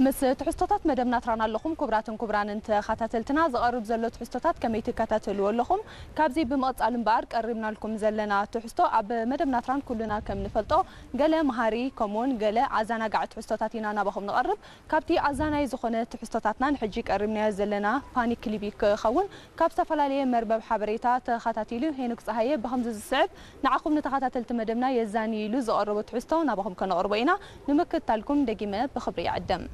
ምስ ትሕዝቶታት መደብና ትራን ኣለኹም። ክቡራትን ክቡራንን ተኸታተልትና፣ ዝቐርብ ዘሎ ትሕዝቶታት ከመይ ትከታተልዎ ኣለኹም? ካብዚ ብምቕጻል እምበኣር ቀሪብናልኩም ዘለና ትሕዝቶ፣ ኣብ መደብና ትራን ኩልና ከም ንፈልጦ ገለ መሃሪ ከምኡውን ገለ ኣዘናጋዒ ትሕዝቶታት ኢና ናባኹም ንቐርብ። ካብቲ ኣዛናይ ዝኾነ ትሕዝቶታትና ንሕጂ ቀሪብናዮ ዘለና ፋኒ ክሊቢ ክኸውን ካብ ዝተፈላለየ መርበብ ሓበሬታ ተኸታቲሉ ሄኖክ ጸሃየ ብኸምዚ ዝስዕብ ንዓኹም ንተኸታተልቲ መደብና የዛንይሉ ዝቐረቦ ትሕዝቶ ናባኹም ከነቕርቦ ኢና። ንምክትታልኩም ደጊመ ብኽብሪ ይዕደም።